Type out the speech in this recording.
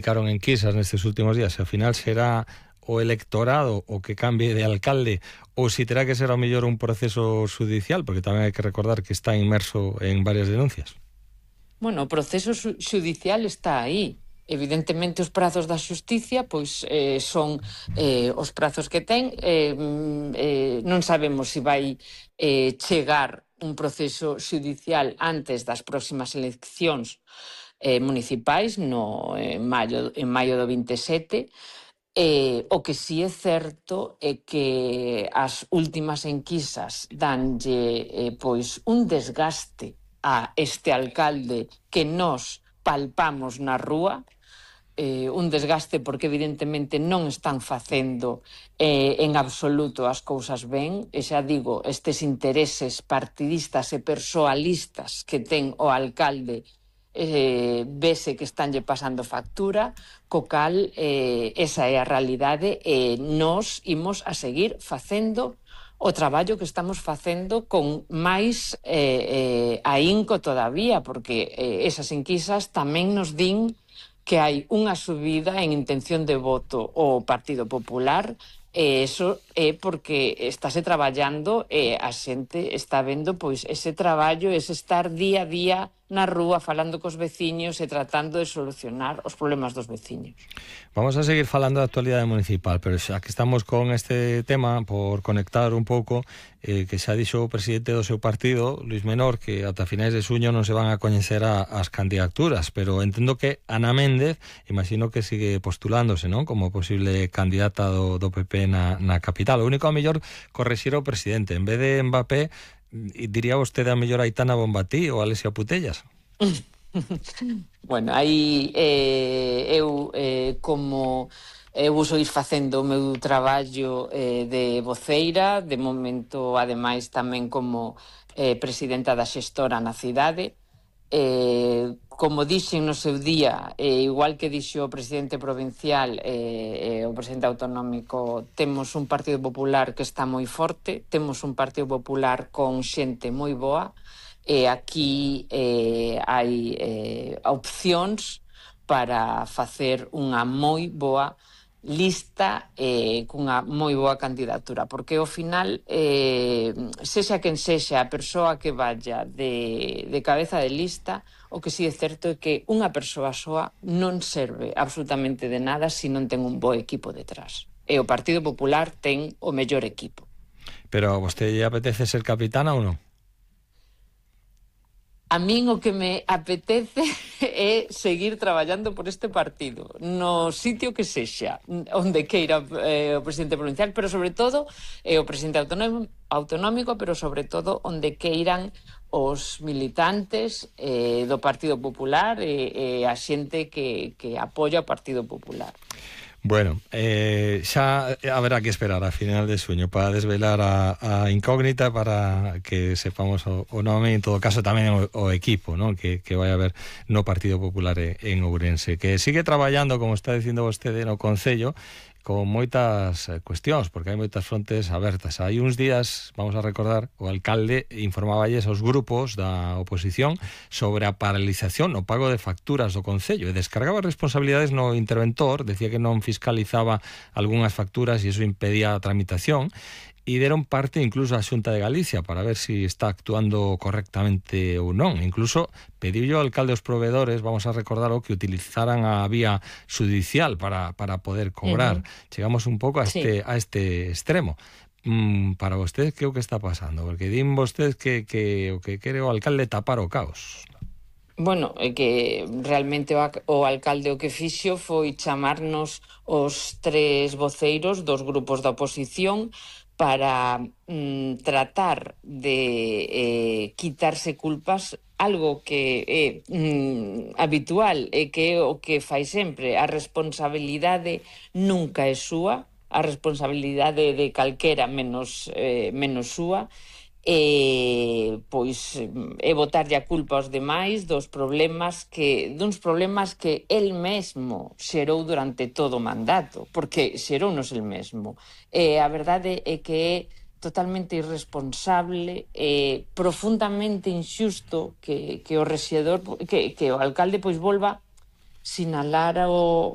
Ficaron enquisas nestes últimos días, se ao final será o electorado o que cambie de alcalde ou si terá que ser ao mellor un proceso judicial, porque tamén hai que recordar que está inmerso en varias denuncias. Bueno, o proceso judicial está aí. Evidentemente os prazos da xusticia pois son os prazos que ten. Non sabemos se vai chegar un proceso judicial antes das próximas eleccións municipais en maio do 27. O que sí é certo é que as últimas enquisas danlle pois un desgaste a este alcalde que nós palpamos na rúa, un desgaste porque evidentemente non están facendo en absoluto as cousas ben, e xa digo, estes intereses partidistas e persoalistas que ten o alcalde vese que estánlle pasando factura, co cal esa é a realidade e nós imos a seguir facendo o traballo que estamos facendo con máis ahínco todavía, porque esas enquisas tamén nos din que hai unha subida en intención de voto ao Partido Popular, e iso é porque estáse traballando e a xente está vendo pois ese traballo, ese estar día a día na rúa falando cos veciños e tratando de solucionar os problemas dos veciños. Vamos a seguir falando da actualidade municipal, pero xa que estamos con este tema, por conectar un pouco, que xa dixo o presidente do seu partido, Luis Menor, que ata finais de xuño non se van a coñecer as candidaturas, pero entendo que Ana Méndez, imagino que sigue postulándose, non? Como posible candidata do PP na capital. O único a mellor correxir o presidente, en vez de Mbappé, diría vostede a mellor Aitana Bonmatí ou Alexia Putellas? Bueno, aí eu como vou seguir facendo o meu traballo de voceira, de momento, ademais, tamén como presidenta da xestora na cidade. Como dixen no seu día, igual que dixo o presidente provincial e o presidente autonómico, temos un Partido Popular que está moi forte, temos un Partido Popular con xente moi boa, e aquí hai opcións para facer unha moi boa lista cunha moi boa candidatura, porque ao final sexa quen sexa a persoa que vaya de cabeza de lista, o que si é certo é que unha persoa soa non serve absolutamente de nada se non ten un bo equipo detrás, e o Partido Popular ten o mellor equipo. Pero a vostede lle apetece ser capitana ou non? A min o que me apetece é seguir traballando por este partido, no sitio que sexa, onde queira o presidente provincial, pero sobre todo o presidente autonómico, pero sobre todo onde queiran os militantes do Partido Popular e a xente que apoia o Partido Popular. Bueno, xa haberá que esperar a final de xuño para desvelar a incógnita, para que sepamos o nome, en todo caso tamén o equipo, ¿no? que vai haber no Partido Popular en Ourense, que sigue traballando, como está dicindo vostede, no Concello, con moitas cuestións, porque hai moitas frontes abertas. Hai uns días, vamos a recordar, o alcalde informaballes aos grupos da oposición sobre a paralización, o pago de facturas do Concello, e descargaba responsabilidades no interventor, decía que non fiscalizaba algunhas facturas e iso impedía a tramitación, e deron parte incluso a Xunta de Galicia para ver si está actuando correctamente ou non. Incluso pediu ao alcalde aos proveedores, vamos a recordar, que utilizaran a vía judicial para poder cobrar. Chegamos un pouco a este extremo. Para vostedes, que é o que está pasando? Porque din vostedes que o que quere o alcalde tapar o caos. Bueno, é que realmente o alcalde o que fixo foi chamarnos os tres voceiros dos grupos da oposición para tratar de quitarse culpas, algo que é habitual e que é o que fai sempre. A responsabilidade nunca é súa, a responsabilidade de calquera menos súa, pois é botarlle a culpa aos demais duns problemas que el mesmo xerou durante todo o mandato, porque xerounos el mesmo. A verdade é que é totalmente irresponsable e profundamente injusto que o rexedor, que o alcalde pois volva sinalar o